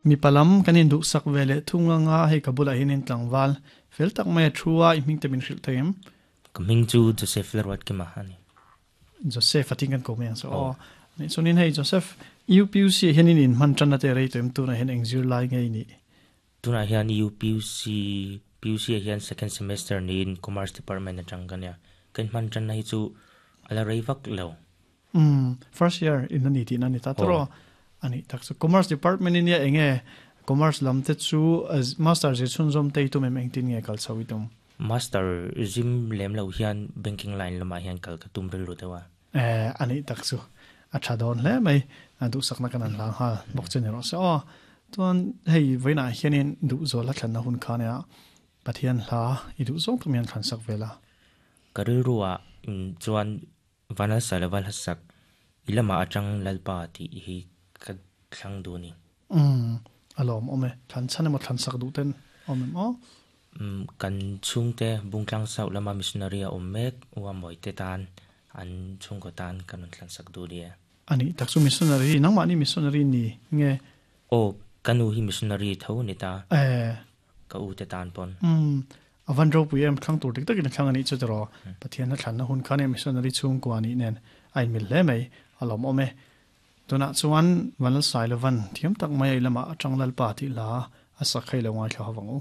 Mipa lam kan induhsak ve leh thung anga hei ka bulah hianin tlangval fel tak mai a thu a, i hming te min hrilh thei em? Ka hming chu Joseph Lalruatkima a ni. Joseph a ting kan ko mai ang chu aw. Ni chuanin hei Joseph UPUC ah hianin in hman tan na te rei tawh em tunah hian eng zir lai nge i nih? Tunah hian UPUC PUC ah hian second semester niin Commerce department atang ka nia. Ka in hman tan na hi chu a la rei vak lo. Umm first year in a ni tihna a ni ta tawrh aw. A nih tak chu Commerce department in nia enge Commerce lam te chu master zir chhunzawm te i tum em engtin nge kal chho i tum? Master zim lem lo hian banking line lamah hian kal ka tum rilru deuh a. Eh a nih tak chu a tha dawn hle mai a duhsakna kan han hlang nghal bawk che ni rawh se aw. Chuan hei vawiinah hianin duhzuala thlanna hun kha nia Pathian hla i duh zawng tak mai an thlansak vel a. Ka rilruah chuan Vanalsa leh Valhasak, i lamah atang Lalpa tih hi ka thlang duh a ni. Umm, a lawm awm e. Thlan chhan emaw thlan sak duh ten awm em aw? Umm, kan chhungte Bungtlang South lama missionary a awm mek Ua Mawite tan, an chhungkaw tan kan rawn thlan sak duh ni e. A nih tak chu missionary, nangmahni missionary ni nge? Aw, ka nu hi missionary tho a ni ta. Eh. Ka u te tan pawn. Umm, a van ropui em, thlang tur dik takin a thlang a nih chu tiraw. Pathian a thlanna hun khan e missionary chhungkua nih nen a inmil hle mai, a lawmawm e. Tunah chuan Vanlalsailovan thiam tak mai a i lamah atang Lalpa tih hla a sak kha i lo ngaithla ho vang u.